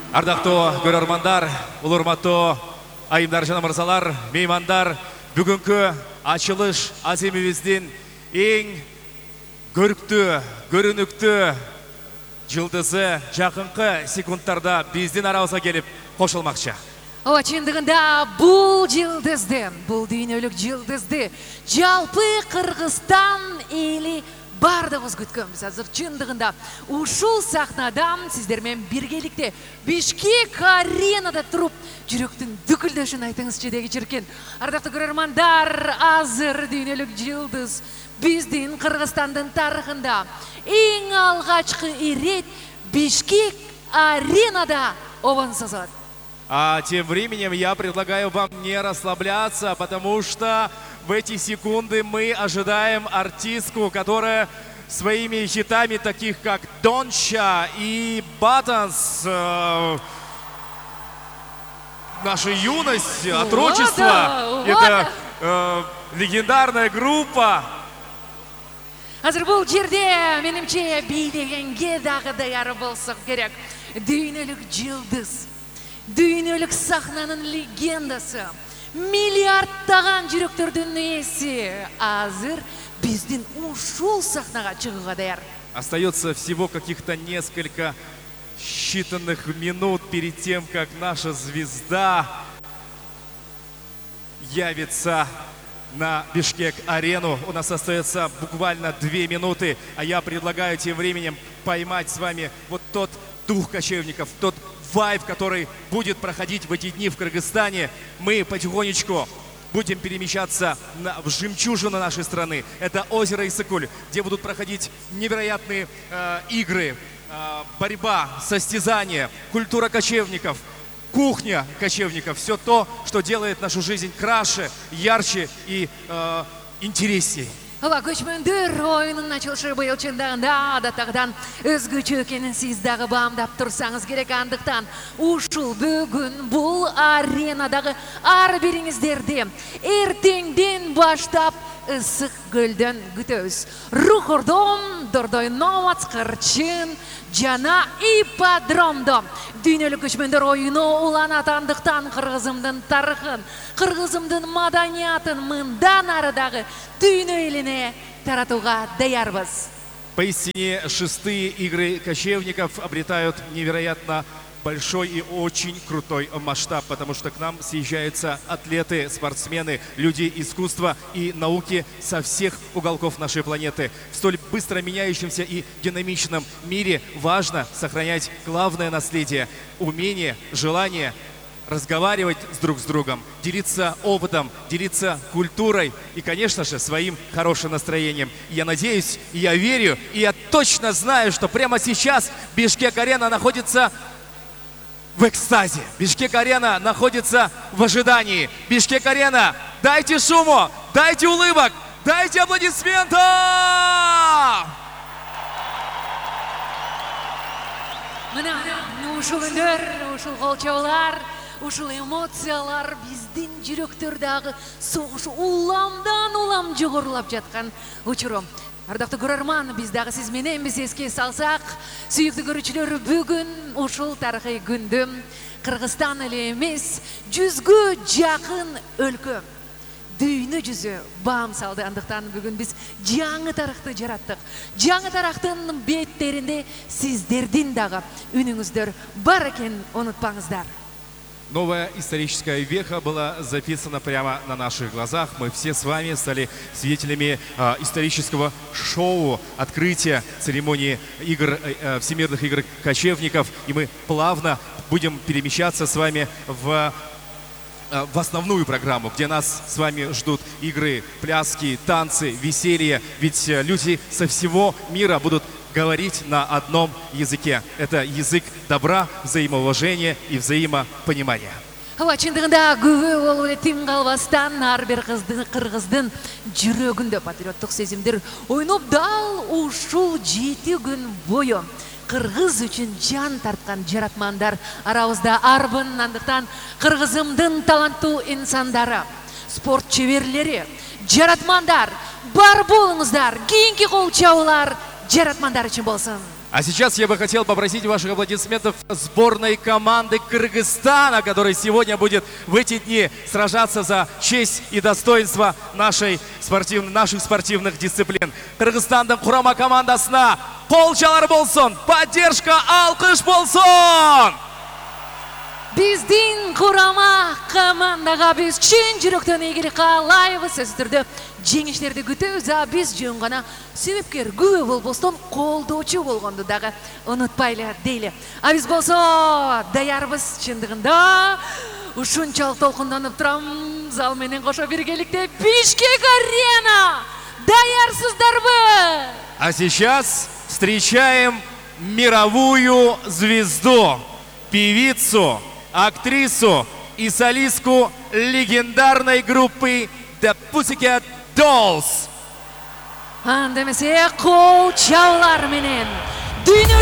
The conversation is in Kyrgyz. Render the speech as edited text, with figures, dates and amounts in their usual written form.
Ардактуу көрөрмандар, улурматтуу айымдар жана мырзалар, меймандар, бүгүнкү ачылыш аземибиздин эң көрүктүү, көрүнүктүү жылдызы жакынкы секундтарда биздин арабызга келип кошулмакчы. Ооба, чындыгында бул жылдызды, бул дүйнөлүк жылдызды жалпы Кыргызстан эли бардыгыбыз күткөнбүз. Азыр чындыгында ушул сахнадан сиздер менен биргеликте Бишкек аренада туруп жүрөктүн дүкүлдөшүн айтыңызчы деги чиркен. Ардактуу көрөрмандар, азыр дүйнөлүк жылдыз биздин Кыргызстандын тарыхында эң алгачкы ирет Бишкек аренада обон созот. А тем временем я предлагаю вам не расслабляться, потому что в эти секунды мы ожидаем артистку, которая своими хитами, таких как Донча и Батанс, наша юность, отрочество, это легендарная группа. Азыр бул жерде менимче бийлегенге дагы даяр болсок керек. Дүйнөлүк жылдыз, дүйнөлүк сахнанын легендасы, миллиардтаган жүрөктөрдүн ээси азыр биздин ушул сахнага чыгууга даяр. Остается всего каких-то несколько считанных минут перед тем, как наша звезда явится на Бишкек-арену. У нас остается буквально 2 минуты, а я предлагаю тем временем поймать с вами вот тот дух кочевников, тот вайб, который будет проходить в эти дни в Кыргызстане. Мы потихонечку будем перемещаться в жемчужину нашей страны. Это озеро Иссык-Куль, где будут проходить невероятные игры, борьба, состязания, культура кочевников, кухня кочевников. Все то, что делает нашу жизнь краше, ярче и интересней. Ооба, көчмөндөр оюнун ачылышы быйыл чындыгында адаттагыдан өзгөчө экенин сиз дагы баамдап турсаңыз керек. Андыктан ушул бүгүн бул аренадагы ар бириңиздерди эртеңден баштап ысык көлдөн күтөбүз. Рухордон, Дордой Номац, Кырчын жана ипподромдо дүйнөлүк көчмөндөр оюну уланат. Андыктан кыргызымдын тарыхын, кыргызымдын маданиятын мындан ары дагы дүйнө элине таратууга даярбыз. Поистине, 6-е игры кочевников обретают невероятно большой и очень крутой масштаб, потому что к нам съезжаются атлеты, спортсмены, люди искусства и науки со всех уголков нашей планеты. В столь быстро меняющемся и динамичном мире важно сохранять главное наследие – умение, желание разговаривать друг с другом, делиться опытом, делиться культурой и, конечно же, своим хорошим настроением. Я надеюсь, я верю, и я точно знаю, что прямо сейчас Бишкек-арена находится в экстазе. Бишкек-арена находится в ожидании. Бишкек-арена, дайте шуму, дайте улыбок, дайте аплодисментов! Мына ушул үндөр, ушул колчоолор, ушул эмоциялар биздин жүрөктөрдөгү согушу уламдан улам жогорулап жаткан учуру. Ардактуу көрөрман, биз дагы сиз менен эске салсак, сүйүктүү көрүүчүлөр, бүгүн ушул тарыхый күндө Кыргызстан эле эмес, 100гө жакын өлкө, дүйнө жүзү баам салды. Андыктан бүгүн биз жаңы тарыхты жараттык. Жаңы тарыхтын беттеринде сиздердин дагы үнүңүздөр бар экен, унутпаңыздар. Новая историческая веха была записана прямо на наших глазах. Мы все с вами стали свидетелями исторического шоу, открытия церемонии Всемирных игр кочевников. И мы плавно будем перемещаться с вами в основную программу, где нас с вами ждут игры, пляски, танцы, веселье. Ведь люди со всего мира будут говорить на одном языке. Это язык добра, взаимоуважения и взаимопонимания. Ооба, чындыгында күбө болуп эле тим калбастан ар бир кыргыздын жүрөгүндө патриоттук сезимдер ойноп, дал ушул 7 күн бою кыргыз үчүн жан тарткан жаратмандар арабызда арбын. Андыктан кыргызымдын таланттуу инсандары, спорт чеберлери, жаратмандар бар болуңуздар. Кийинки кол чабуулар жаратмандар үчүн болсун. А сейчас я бы хотел попросить ваших аплодисментов сборной команды Кыргызстана, которая сегодня будет в эти дни сражаться за честь и достоинство наших спортивных дисциплин. Кыргызстандын курама командасына кол чалар болсун, поддержка, алкыш болсун! Биздин курама командага биз чын жүрөктөн ийгилик каалайбыз. Сөзсүз түрдө жеңиштерди күтөбүз, а биз жөн гана себепкер, күбө болбостон колдоочу болгонду дагы унутпайлы дейли. А биз болсо даярбыз чындыгында. Ушунчалык толкунданып турам, зал менен кошо биргеликте Бишкек арена. Даярсыздарбы? А сейчас встречаем мировую звезду, певицу, актрису и солистку легендарной группы The Pussycat Dolls. Андемесе кол чаулар менен